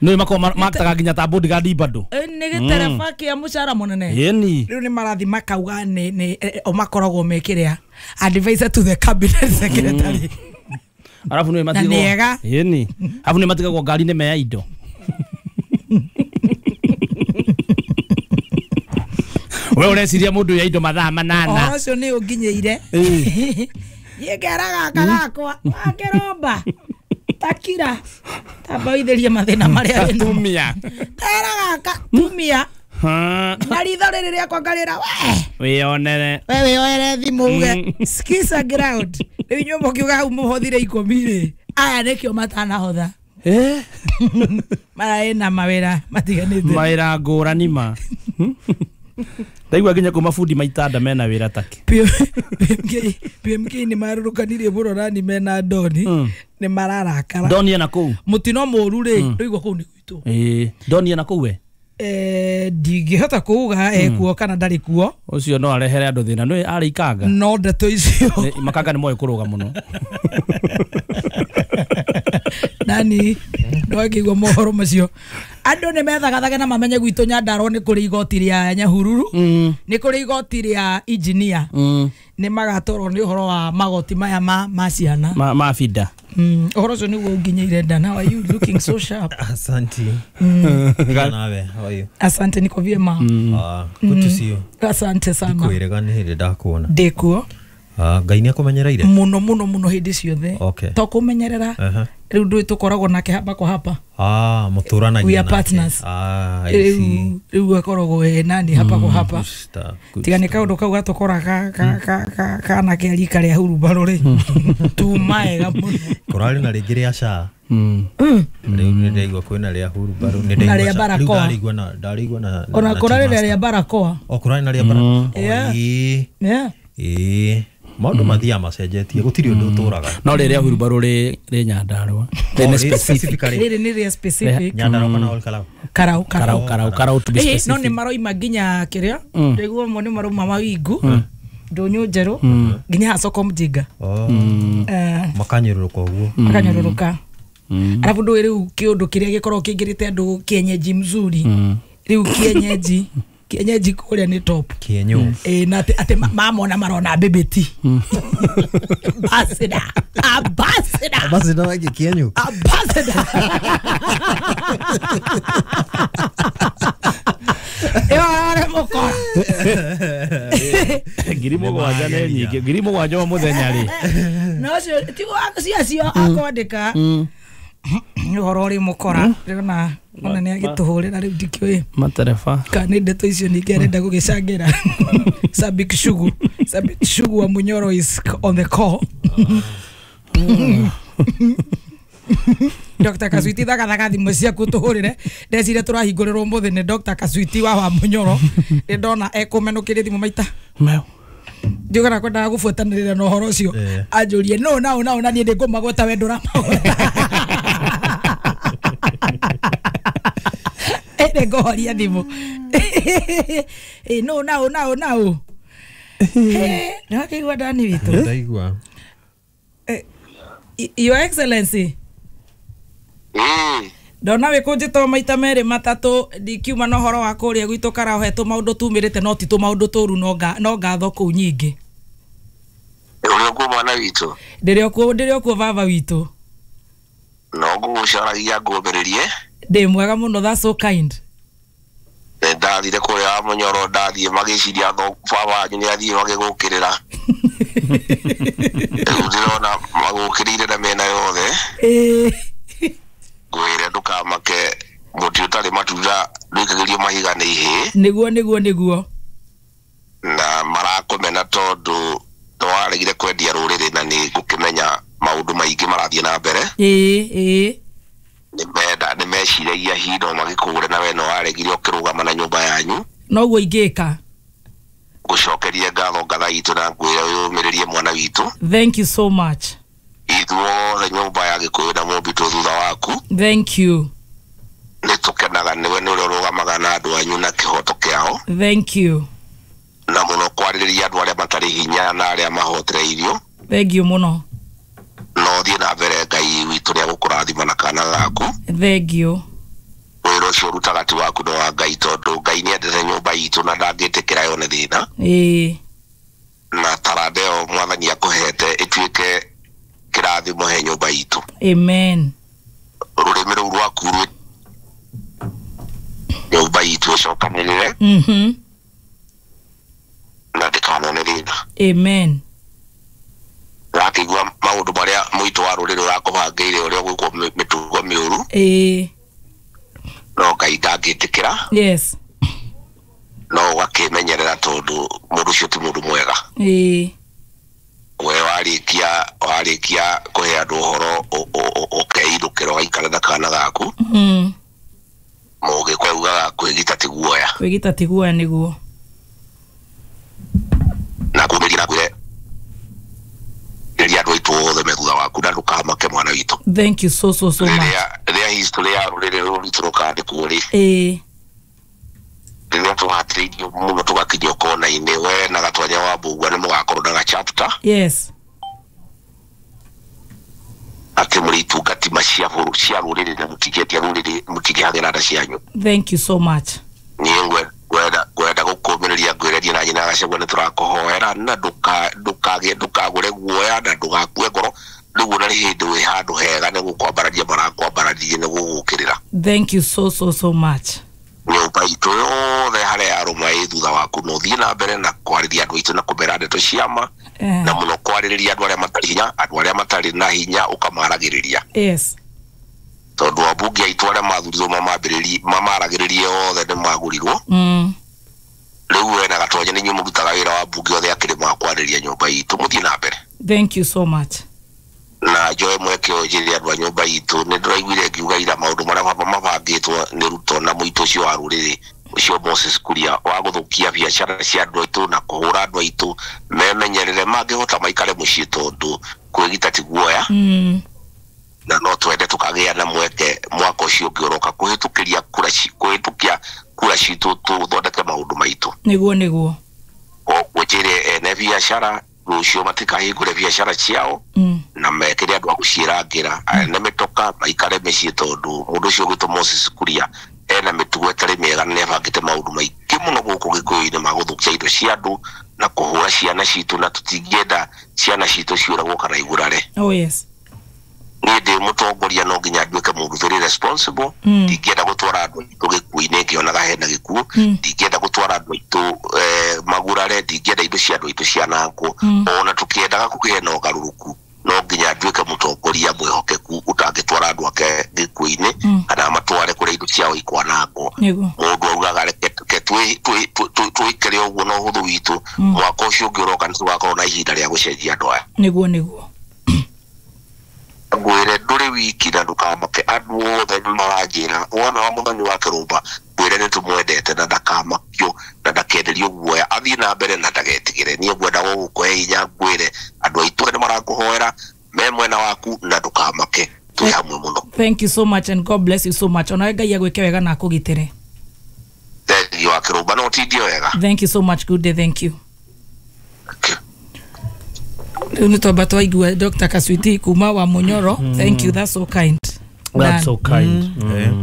nĩ makoragwo maktaga nginya ta bodyguard bado nĩ gĩtereba kĩa mũcara mũnene. Ĩni rĩu nĩ marathi makauga nĩ nĩ o makoragwo mekĩrĩa advisor to the cabinet secretary. Arabu nĩ matigagwo ĩni arabu nĩ matigagwo ngari-inĩ meya indo. We ũreciria mũndũ ya indo mathaa manana. Ũhoro ũcio nĩ ũnginyĩire. Niĩ ngera gaka gakwa wakĩromba takira tamba ũithĩrie mathĩna marĩa wĩnamo. Tumia. Tera gaka tumia. Na ritho rĩrĩ rĩakwa ngarĩra we wĩonere. We wĩoere thimũ uge skisa ground. Rĩu inyuĩ mũkiuga hau mũhothire ikũmi rĩ aya nĩkĩo matanahotha. Eh mara ĩna mawĩra matiganĩte. Mawĩra ngũrani ma. Ndaigua nginya kuma bundi maitanda mena wĩra take. P M K nĩ marũrũkanirie mũno nani mena Doni nĩ mararakara. Doni ena kũu. Mũtino mũru rĩ ndũigua kũu nĩ gwitũ. Ĩĩ Doni ena kũu we? Eh ndingĩhota kuuga ekuo kana ndarĩ kuo. Ũcio no arehere andũ thĩna nĩ arĩ ikanga. No ndeto icio. Makanga nĩ moĩ kũrũga mũno. Nani ndwakĩigua mohoro macio. Andũ nĩ methagathage na mamenye gwitũ Nyandarua nĩ kũrĩ igoti rĩa Nyahururu nĩ kũrĩ igoti rĩa engineer nĩ magatwarwo nĩ ũhoro wa magoti maya ma ma ciana ma ma bida. Ũhoro ũcio nĩguo ũnginyĩire nda. How are you looking so sharp? Asante. Nawe, how are you? Asante, niko vyema. Ah, good to see you. Asante sana. Ndikwĩrega nĩ hĩndĩ ndakuona. Ndĩkuo. Ah, Ngai nĩ akũmenyereire? Mũno mũno mũno hĩndĩ ciothe. Okay. To kũmenyerera. Rĩu ndũĩ tũkoragwo nake hapa kwa hapa. Ah, mũtũranagia. We are partners. Ah, I see. Rĩu akoragwo e nani hapa kwa hapa. Tiga nĩ kaũndũ kau gatũkora ka ka ka kana kĩa rika rĩa hurumbarũ rĩ. Tumaega mũno. Kũrarĩ na rĩngĩ rĩa S H A. Rĩu nĩ ndaigua kwĩna rĩa hurumbarũ nĩ ndaigua. Rĩu ndarĩigua na ndarĩigua na ona kũrarĩ na rĩa barakoa. O kũrarĩ na rĩa barakoa. Ĩĩ. Yeah. Ĩĩ. Maũndũ mathiaga macenjetie gũtirĩ ũndũ ũtũraga. No rĩrĩa hurumbarũ rĩ rĩ Nyandarua. Rĩ specific. Rĩrĩ nĩ rĩa specific. Nyandarua kana Ol Kalou? Karau Karau Karau Karau to be specific. No nĩ maroima nginya kĩrĩa ndaigua mo nĩ marauma mawingu ndũnyũ njerũ nginya soko mjinga. Makanyũrũrũka ũguo. Makanyũrũrũka. Arabu ndũĩ rĩu kĩũndũ kĩrĩa gĩkoragwo kĩingĩrĩte andũ kienyeji mzuri. Rĩu kienyeji kienyeji kũrĩa nĩ top. Kienyo. Eh na ati ati mamona marona bebeti. Ambassador. Ambassador. Ambassador wake kienyo. Ambassador. Ĩyo arĩ mũkora. Ngiri mũgwanja nĩ nyingĩ. Ngiri mũgwanja o mũthenya rĩ. No cio tiguo acio akwandĩka. Ũhoro ũrĩ mũkora ndĩrona ona nĩ agĩtũhũrĩra rĩu ndikĩũĩ matereba kana nĩ ndeto icio ningĩ arenda gũgĩcangĩra. Sabik Shugu Sabik Shugu wa Munyoro is on the call. Doctor Kasuiti thagathaga thimũ ciaku tũhũrĩre ndecire tũrahingũrĩrwo ũmũthĩ nĩ Doctor Kasuiti wa wa Munyoro nĩ ndona ekũmenũkĩria thimũ maita meu ndiuga kwendaga gũbuatanĩrĩra na ũhoro ũcio anjũrie no na na na niĩ ndĩngũmagweta we ndũramagweta. Ĩrĩ ngũhoria thimũ. Ĩ no na na na nĩwakĩigua ndani witũ? Ndaigua. Your Excellency. Ndona wĩkũnjĩtwo maita merĩ matatũ ndikiuma na ũhoro wa kũrĩa gwitũ karaohetwo maũndũ tumĩrĩte no ti tũmaũndũ tũru no nga no ngatho kũu nyingĩ. Ũrĩ okuo mwana witũ? Ndĩrĩ okuo ndĩrĩ okuo baba witũ. No ngũgũcaragia ngũmbĩrĩrie. Ndĩ mwega mũno, that's so kind. Ndathire kũrĩa wa Mũnyoro, ndathiĩ magĩciria baba wanyu nĩ athiĩ magĩgũkĩrĩra. Rĩu ndĩrona magũkĩrĩire na mĩena yothe. Ngwĩre ndũkamake, mũtĩ ũtarĩ matunda ndũikagĩrio mahiga nĩ ihĩĩ. Nĩguo nĩguo nĩguo. Na marakũmena tondũ nĩwaregire kwendia rũrĩrĩ na nĩ ngũkĩmenya maũndũ maingĩ marathiĩ na mbere. Ĩĩ ĩĩ. Nĩmenda nĩmeciragia hihi no magĩkũgũre na we no waregire ũkĩrũgama na nyũmba yanyu. Noguo ingĩka. Ngũcokerie ngatho ngatha itũ na ngwĩre wĩyũmĩrĩrie mwana witũ. Thank you so much. Ithuothe nyũmba ya Gĩkũyũ na Mũmbi twĩ thutha waku. Thank you. Nĩ tũkenaga nĩwe nĩ ũrĩa ũrũgamaga na andũ anyu na kĩhoto kĩao. Thank you. Na mũno kwarĩrĩria andũ arĩa matarĩ hinya na arĩa mahotereirio. Thank you mũno. No thiĩ na mbere, Ngai witũ nĩ agũkũrathima na kana gaku. Thank you. Wĩra ũcio ũrutaga ti waku no wa Ngai tondũ Ngai nĩendete nyũmba itũ na ndangĩtĩkĩra yone thĩna. Ĩĩ. Na taranda ĩyo mwathani akũhete ĩtuĩke kĩrathimo he nyũmba itũ. Amen. Rũrĩmĩ rũu rwaku rwĩ nyũmba itũ ĩcokanĩrĩre. Mhm. Na ndĩkanone thĩna. Amen. Wakĩigua maũndũ marĩa mũitũ wa rũrĩrĩ ũrakũbangĩire ũrĩa ũgwĩkwo mĩtugo mĩũru. Ĩĩ. No Ngai ndangĩtĩkĩra. Yes. No ũgakĩmenyerera tondũ mũndũ ũcio ti mũndũ mwega. Ĩĩ. We warĩkia warĩkia kũhe andũ ũhoro ũkeindũkĩra ũgaikara na kana gaku. Mm. Mũgĩkũyũ augaga kwĩgita ti guoya. Kwĩgita ti guoya nĩguo. Na kũmĩria na kwĩre rĩrĩa andũ aitũ othe me thutha waku na ndũkamake mwana witũ. Thank you so so so much. Rĩrĩa rĩrĩa history ya rũrĩrĩ rũrũ rwitũ rũkandĩkwo rĩ. Ĩĩ. Rĩrĩa tũhatĩrĩirio mũno tũgakinyio kona-inĩ, we na Gatwanya wa Mbũgua nĩ mũgakorwo na ga-chapter. Yes. Atĩ mũrĩ itungati cia cia rũrĩrĩ na mũtingĩendia rũrĩrĩ mũtingĩhagĩra nda cianyu. Thank you so much. Niĩ ngwenda ngwenda gũkũmĩrĩria ngwĩrerie na nyina Gachagua nĩ tũrakũhoera na ndũka ndũkagĩe ndũkagũre guoya na ndũgakue ngoro rĩu ona nĩ hĩndĩ wĩ handũ hega nĩ gũkwambararia marakwambararia nĩ gũgũkĩrĩra. Thank you so so so much. Nyũmba itũ yothe harĩa yarũma ĩ thutha waku no ũthiĩ na mbere na kwarĩria andũ aitũ na kũmera ndeto ciama na mũno kwarĩrĩria andũ arĩa matarĩ hinya, andũ arĩa matarĩ na hinya ũkamaragĩrĩria. Yes. Tondũ ambunge aitũ arĩa mathurirwo mamambĩrĩrie mamaragĩrĩrie othe nĩ magũrirwo. Mm. Rĩu we na Gatwanya nĩ inyuĩ mũrutaga wĩra wa mbunge othe akĩrĩ ma kwarĩria nyũmba itũ, mũthiĩ na mbere. Thank you so much. Na njoe mweke ũyũ njĩre andũ a nyũmba itũ nĩ ndĩraiguire ngiuga ira maũndũ marĩa mabangĩtwo nĩ Ruto na mũitũ ũcio wa rũrĩrĩ ũcio Moses Kuria wa gũthũkia biacara cia andũ aitũ na kũhũra andũ aitũ memenyerere mangĩhota maikare mũciĩ tondũ kwĩgita ti guoya. Mm. Na no twende tũkagĩa na mweke mwaka ũcio ũngĩ ũroka kũhĩtũkĩria kura kũhĩtũkia kura citũ tũthondeke maũndũ maitũ. Nĩguo nĩguo. Koguo njĩre ene biacara rũciũ matikahingũre biacara ciao mm. na mekĩre andũ a gũciĩrangĩra ene mĩtoka maikare mĩciĩ tondũ mũndũ ũcio ũgwĩtwo Moses Kuria ena mĩtugo ĩtarĩ mĩega na nĩabangĩte maũndũ maingĩ mũno gũkũ Gĩkũyũ-inĩ ma gũthũkia indo cia andũ na kũhũra ciana citũ na tũtingĩenda ciana citũ ciũragwo kana igurare. Oh yes. Niĩ ndĩ mũtongoria no nginya nduĩke mũndũ very responsible. Ndingĩenda gũtwara andũ aitũ gĩkuũ-inĩ ngĩonaga hena gĩkuũ, ndingĩenda gũtwara andũ aitũ magurare, ndingĩenda indo cia andũ aitũ cianangwo. Ona tũkĩendaga kũgĩe na ũgarũrũku no nginya nduĩke mũtongoria mwĩhokeku ũtangĩtwara andũ ake gĩkuũ-inĩ kana matware kũrĩa indo ciao ikwanangwo. Mũndũ augaga reke twĩkĩre ũguo na ũhũthũ witũ, mwaka ũcio ũngĩ ũroka nĩ tũgakorwo na ihinda rĩa gũcenjia andũ aya. Nĩguo nĩguo. Ngwĩre ndũrĩ wiki na ndũkamake, andũ othe nĩ maranjĩra wona wa mũthoni wa Kĩrũmba ngwĩre nĩ tũmwendete na ndakamakio na ndakenderio guoya, athiĩ na mbere na ndagetigĩre. Niĩ ngwenda gũgũkũhe hinya ngwĩre andũ aitũ nĩ marakũhoera me mwena waku na ndũkamake, twĩ hamwe mũno. Thank you so much and God bless you so much. Onawe Ngai agwĩke wega na akũgitĩre. Thank you wa Kĩrũmba, no ũtindie wega. Thank you so much. Good day. Thank you. Rĩu nĩ twamba twaigua Doctor Kaswiti kuma wa Munyoro. Thank you, that's so kind. That's so kind.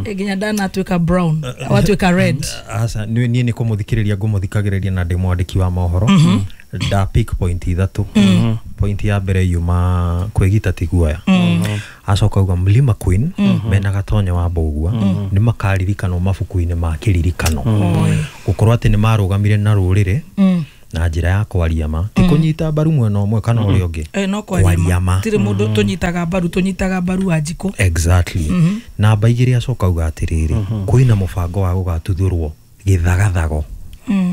Nginya Dan atuĩka brown watuĩka red. Aca niĩ nĩ kũmũthikĩrĩria ngũmũthikagĩrĩria na ndĩ mwandĩki wa mohoro. Da pick point ithatu. Point ya mbere yuma kwĩgita ti guoya. Acoka uga Mlima Queen mena Gatonyo wa Mbũgua nĩ makaririkanwo mabuku-inĩ ma kĩririkano gũkorwo atĩ nĩ marũgamire na rũrĩrĩ na njĩra ya kwaria ma ti kũnyita mbaru mwena ũmwe kana ũrĩa ũngĩ, no kwaria ma tirĩ mũndũ tũnyitaga mbaru, tũnyitaga mbaru wa njikũ. Exactly. Namba igĩrĩ acoka uga atĩrĩrĩ kwĩna mũbango wa gũgatuthũrwo gĩthagathago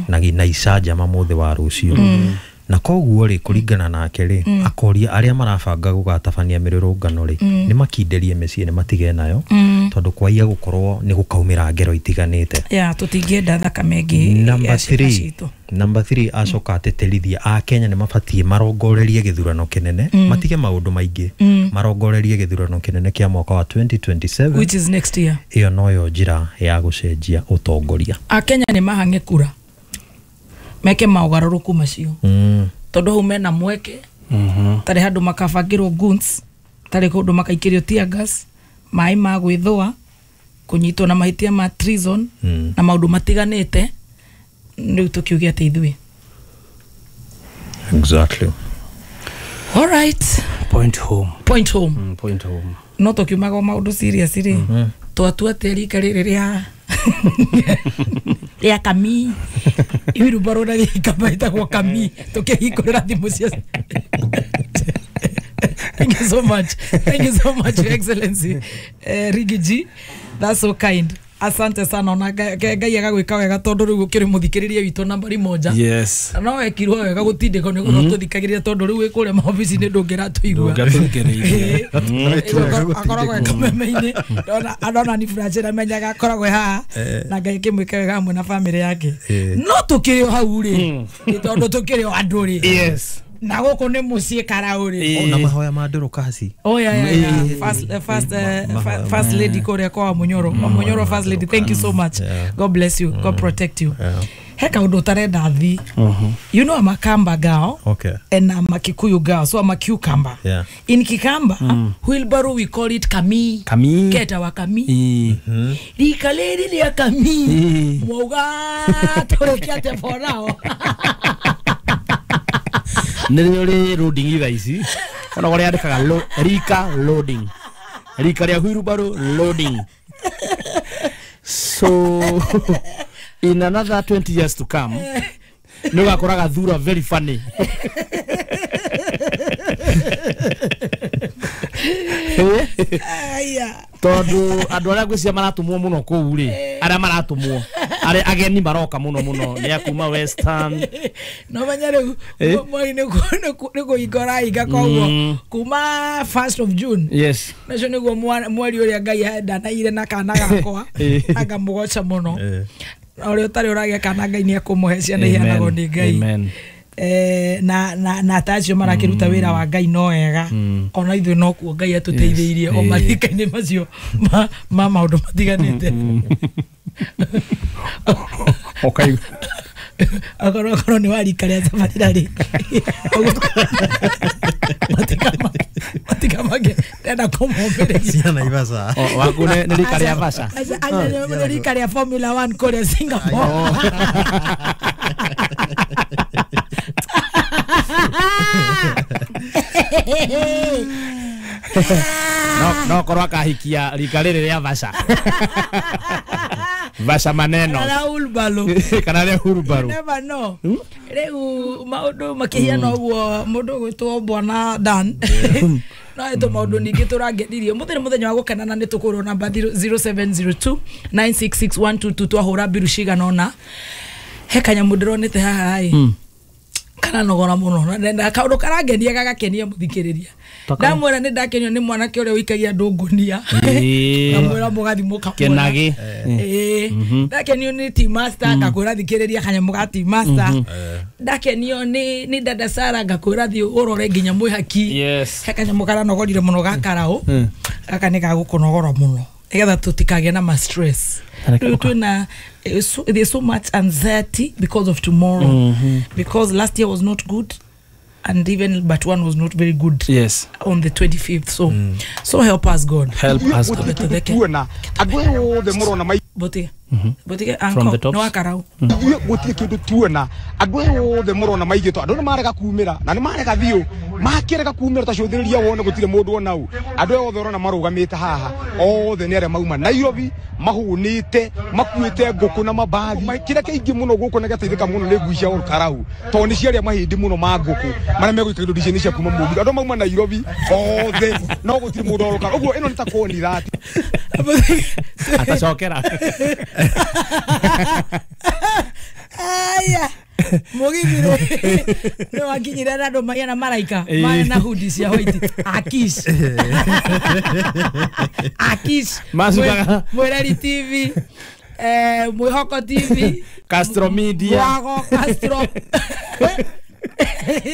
na na icanjama mũthĩ wa rũciũ. Na koguo rĩ kũringana nake rĩ akoria arĩa marabanga gũgatabania mĩrũrũngano rĩ nĩ makinderie mĩciĩ nĩ matige nayo tondũ kwaiya gũkorwo nĩ gũkaumĩra ngero itiganĩte. Yeah, tũtingĩenda thakame ĩngĩ. Number three, number three acoka atĩtĩrithia a Kenya nĩ mabatiĩ marongorerie gĩthurano kĩnene, matige maũndũ maingĩ, marongorerie gĩthurano kĩnene kĩa mwaka wa twenty twenty-seven which is next year. Ĩyo noyo njĩra ya gũcenjia ũtongoria. A Kenya nĩ mahang'e kura meke maũgarũrũku macio tondũ hau mena mweke tarĩ handũ makabangĩrwo guns, tarĩ kũndũ makaikĩrio tear gas, maĩ ma gwĩthũa, kũnyitwo na mahĩtia ma treason na maũndũ matiganĩte. Rĩu tũkiuge atĩ ithuĩ. Exactly. All right. Point home. Point home. Mm, point home. No tũkiumaga maũndũ serious rĩ twatua atĩ rika rĩrĩ rĩa rĩa kami irumbaro na gĩkamba ĩtagwo kami tũkĩhingũrĩra thimũ cia. Thank you so much. Thank you so much, Your Excellency. Uh, Riggy G, that's so kind. Asante sana ona Ngai agagwĩka wega tondũ rĩu ũkĩrĩ mũthikĩrĩria witũ nambari moja. Yes. No wekirwo wega gũtindĩkwo nĩ gũkorwo tũthikagĩrĩria tondũ rĩu wĩ kũrĩa maobici-inĩ ndũngĩratũigua. Ndũngĩratũthikĩrĩria. Akoragwo e kameme-inĩ. Ndona andona ni Francis amenyaga akoragwo haha na Ngai akĩmwĩka wega hamwe na family yake. No tũkĩrĩ o hau rĩ tondũ tũkĩrĩ o andũ rĩ. Yes. Na gũkũ nĩ mũciĩ Karau rĩ. Ona mahoya ma Dorokasi. Oh yeah, yeah, yeah. First, uh, first, uh, first lady kũrĩa kwa Wamunyoro. Wamunyoro first lady, thank you so much. God bless you. God protect you. He kaũndũ ũtarenda thi. You know I'm a Kamba girl. Okay. And I'm a Kikuyu girl, so I'm a cucumber. Yeah. In Kikamba, mm. wheelbarrow we call it kami. Kami. Keta wa kami. Mm-hmm. Rika rĩrĩ rĩa kami. Mwauga tũrĩkia atĩa for now. Nĩ rĩ loading thaa ici ona kũrĩa andĩkaga rika loading, rika rĩa wheelbarrow loading. So in another twenty years to come nĩ ũgakoraga thura very funny. Tondũ andũ arĩa ngwĩciria maratũmwo mũno kũu rĩ, arĩa maratũmwo arĩa ageni maroka mũno mũno nĩ a kuma Western. No menya rĩu mweri nĩ kũhinga ũrahinga koguo kuma first of June. Yes. Nacio nĩguo mweri ũrĩa Ngai ndanaire na kana gakwa ngamũgoca mũno. Ũrĩa ũtarĩ ũragĩa kana Ngai nĩ ekũmũhe ciana iheanagwo nĩ Ngai. Amen. Eh, na na na tacio marakiruta wira wa Ngai no wega ona ithuĩ no kuo Ngai atũteithĩirie o marika-inĩ macio ma ma maũndũ matiganĩte. Okay. Akorwo akorwo nĩ warika rĩa Tabarĩra rĩ matikamake ndenda kũmũmbĩrĩria cia Naivasha. Waku nĩ rika rĩa Vasha. Nĩ rika rĩa Formula one kũrĩa Singapore. No no korwo akahikia rika rĩrĩ rĩa Vasha. Vasha maneno. Kana ulbalo. Kana rĩa ulbalo. Never know. Rĩu maũndũ makĩhiana ũguo mũndũ ũgwĩtwo Bwana Dan. No ĩtũ maũndũ ningĩ tũrangenirie. Mũthĩ nĩ mũthenya wa gũkena na nĩ tũkũrwo namba zero seven zero two nine six six one two two twahũra mbiru cigana ũna. He kanyamũ ndĩronete haha ĩ. Kana nogora mũno na kaũndũ karangenia gagakenia mũthikĩrĩria. Ndamwĩra nĩ ndakenio nĩ mwanake ũrĩa ũikagia andũ ngũnia. Ndamwĩra mũgathi mũkamwona. Kenagi. Ĩĩ. Ndakenio nĩ Team Master ngakwĩra thikĩrĩria kanyamũ ga Team Master. Ndakenio nĩ nĩ Dada Sara ngakwĩra thiĩ ũrore nginya mwĩhaki. Yes. He kanyamũ karanogorire mũno ga Karau. Gaka nĩ gagũkũnogora mũno. Nĩgetha tũtikagĩe na ma stress. Rĩu twĩna there's so much anxiety because of tomorrow. Mm-hmm. Because last year was not good. And even but one was not very good. Yes. On the twenty-fifth. So mm. so help us God. Help us God. Bote. Bote from the top. No akarau. Gutire kindu tuona andu othe murona maigitwo andu ni marega kumira na ni marega thiu makirega kumira ta cuthiriria wone gutire mundu ona u andu othe urona marugamite haha othe ni aria mauma Nairobi mahunite makuite nguku na mabathi kira kiingi muno guku na gateithika muno ni ngui cia Olkarau to ni ciaria mahindi muno ma nguku maria megwikira indo ici cia kuma Mũgithi andu mauma Nairobi othe no gutire mundu Olkarau uguo ino ni ta koni thati atacokera. Aya Mugithi no akinyira na andu maria na maraika mara na hoodie cia white akish akish Mwereri T V eh Mwihoko T V Castro Media Mwago Castro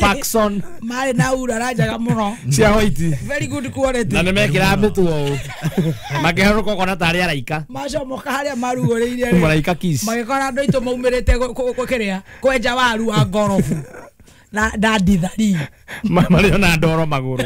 Paxson mari na urara njega muno cia white very good quality na nimekira mituo makiharuka kona tari araika macomoka haria maruguriire maraika kiss magikora andu aitu maumirite kukiria kwenja waru wa ngorobu na na ndithari mari ona ndoro maguru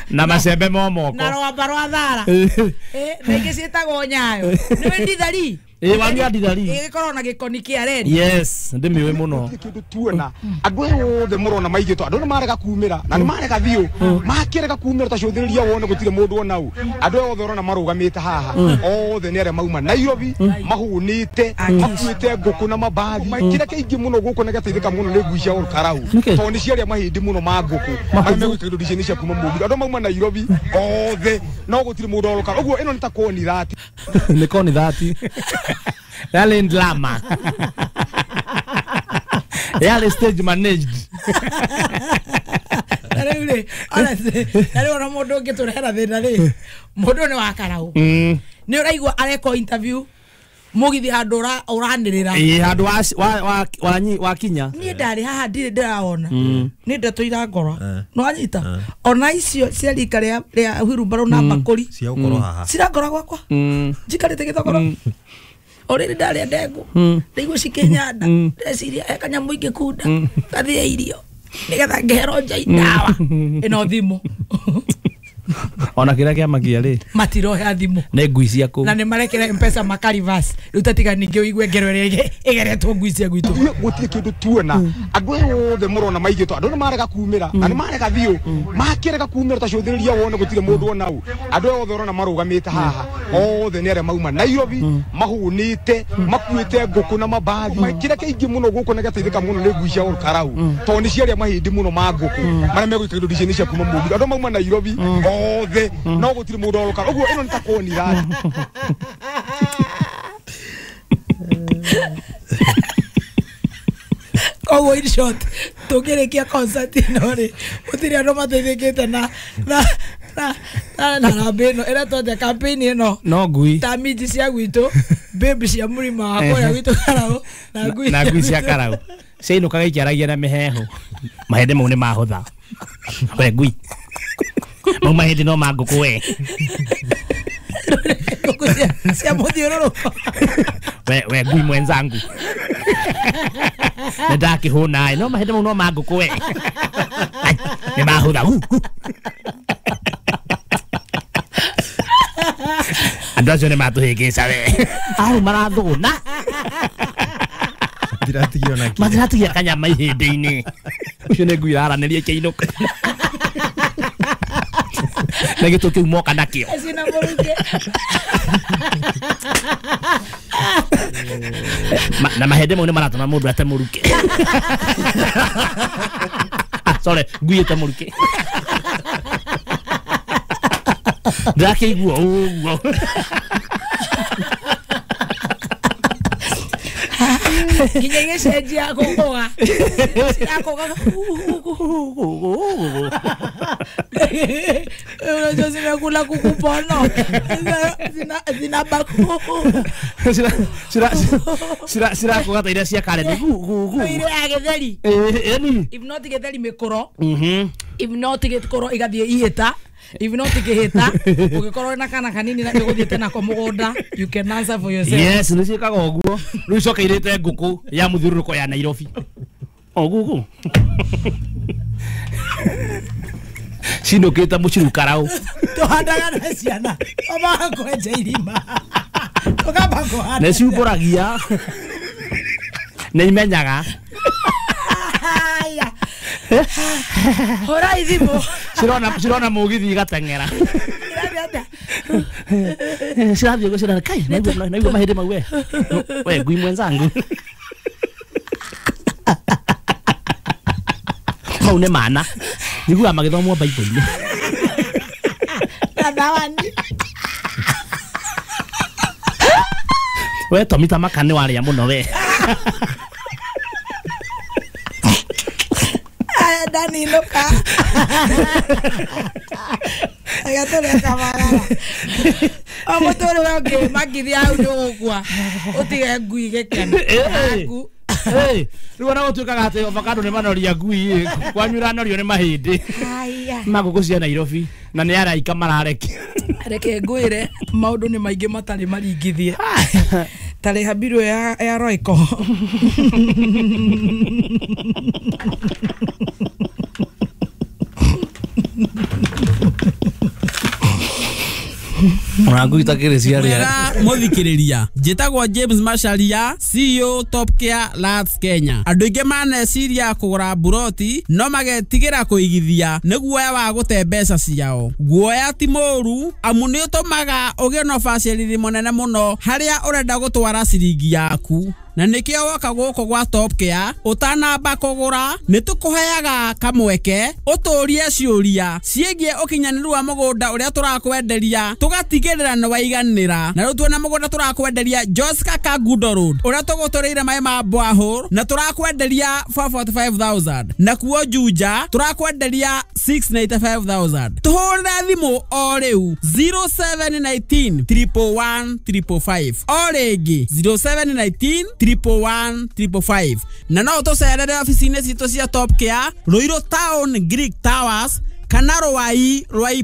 na macembe momoko na rwamba rwa thara eh na ingi cietagwo nyayo niwe ndithari. Eh wani ndithari igikorwo na gikoni kia red. Yes ndimiwe muno kindu tuona andu othe murona maigitwo andu ni marega kumira na ni marega thiu makirega kumira ta cuthiriria wone gutire mundu ona u andu othe urona marugamite haha othe ni aria mauma Nairobi mahunite makuite nguku na mabathi kira kiingi muno guku na gateithika muno ni ngui cia Olkarau to ni ciaria mahindi muno ma nguku maria megwikira indo ici cia kuma Mũgithi andu mauma Nairobi othe no gutire mundu Olkarau uguo ino ni ta koni thati ni koni thati yale ndlama yale stage managed na riu honestly na riu ona mundu ungiturehera thina ri mundu ni wa Karau ni uraigua areko interview Mugithi handu uranirira eh handu wa wa wa kinya ni ndari haha ndiri ndiraona ni ndeto irangora no anyita ona icio cia rika ria ria wheelbarrow na bakuri cia gukorwo haha cirangora gwakwa njikarite githogoro oriri ndaria ndengu ndaigua cikinyanda ndeciria he kanyamu ingikunda ngathie irio nigetha ngehero nja ndawa ino thimu ona kira kia magia ri matirohe thimu ni ngui cia kuu na ni marekera mpesa makarivas riu tatiga ningi uigue ngero iria igeretwo ngui cia gwitu gutire kindu tuona andu othe murona maigitwo andu ni marega kumira na ni marega thiu makirega kumira ta cuthiriria wone gutire mundu ona u andu othe urona marugamite haha othe ni aria mauma Nairobi mahunite makuite nguku na mabathi kira kiingi muno guku na gateithika muno ni ngui cia Olkarau to ni ciaria mahindi muno ma nguku maria megwikira indo ici cia kuma Mũgithi andu mauma Nairobi othe no gutire mundu Olkarau uguo ino ni ta koni thati. Koguo in short tungirikia concert ino ri gutire andu mateithikite na na na na na rambi ino iretwo atia campaign ino no ngui ta minji cia gwitu baby cia murima wa kuria gwitu Karau na ngui na ngui cia Karau ciainukaga ikiaragia na mihehu mahindi mau ni mahutha we ngui mau mahindi no ma nguku we nguku cia muthiururuko we we ngui mwenzangu nĩ ndakĩhũna no mahindi mau no ma nguku we nĩ mahutha andũ acio nĩ matũhĩngĩca we au marathũna matiratigia ona kĩ matiratigia kanyama ihĩndĩ-inĩ ũcio nĩ ngui ĩraranĩria ĩkĩinũka na gĩtũ kĩu moka nakĩo cina mũrukĩ na mahĩndĩ mau nĩ maratũma mũndũ ate mũrukĩ sorry ngui ĩte mũrukĩ ndakĩigua ũguo nginya igĩcenjia kũgũa cirakũgaga unajua zimekula kuku pono zina baku cirakũga ta iria cia kare nĩ ire ya gĩtheri if not gĩtheri mĩkũro if not gĩkũro igathiĩ ihĩta if not kĩhĩta ũngĩkorwo na kana kanini na ũgũthiĩte nako mũgũnda you can answer for yourself. Yes nĩ ciĩkaga ũguo rĩu icokeirĩte ngũkũ ya mũthiũrũrũko ya Nairobi O gugu. Cinũkĩte mũciru karau. Tũhandaga na ciana. Twambaga kwenja irima. Tũkamba kũhanda. Nĩ ciumbũragia. Nĩ imenyaga. Haya. Hũra ithimũ. Cirona cirona mũgithi igateng'era. Cirathiĩ ũguo cirona kai naigua naigua mahĩndĩ mau we. We ngui mwenzangu. Mau nĩ mana. Njiguaga magĩthomwo Bible-inĩ. Na thawani. We Tommy ta maka nĩ warĩa mũno we. Aya ndaninũka. Aya tũrĩa kamagara. O mũtũrĩre ũngĩ makithia hau nĩũgũkua ũtige ngui gĩkeno. Aku. Rĩu ona gũtuĩkaga atĩ avocado nĩ manoria ngui kwanyu ĩranorio nĩ mahĩndĩ. Haya. Ma ngũkũ cia Nairobi na nĩ araika mararekia. Reke ngwĩre maũndũ nĩ maingĩ matarĩ maringithie. Tarĩ habirũ ya ya Royco. Ona ngui itakĩrĩ ciarĩa. Mwega mũthikĩrĩria, njĩtagwo James Macharia, C E O Top Care Lands Kenya. Andũ aingĩ maneciria kũgũra mburoti no magetigĩra kũigithia nĩ guoya wa gũte mbeca ciao. Guoya ti mũũru amu nĩ ũtũmaga ũgĩe na ũbacĩrĩri mũnene mũno harĩa ũrenda gũtwara ciringi yaku. Na nĩkĩo woka gũkũ gwa Top Care ũtanamba kũgũra nĩ tũkũheaga kamweke ũtũrie ciũria ciĩgiĩ ũkinyanĩru wa mũgũnda ũrĩa tũrakwenderia tũgatigĩrĩra nĩ waiganĩra. Na rĩu tuona mũgũnda tũrakwenderia Joska Kangundo Road ũrĩa tũgũtũrĩire maĩ ma borehole na tũrakwenderia four forty-five thousand, na kuo Juja tũrakwenderia six ninety-five thousand. Tũhũrĩre thimũ o rĩu zero seven nineteen triple one triple five, o rĩngĩ zero seven nineteen triple one triple five. Na no tũcerere ofici-inĩ citũ cia Top Care Ruiru Town Greek Towers kana Ruai Ruai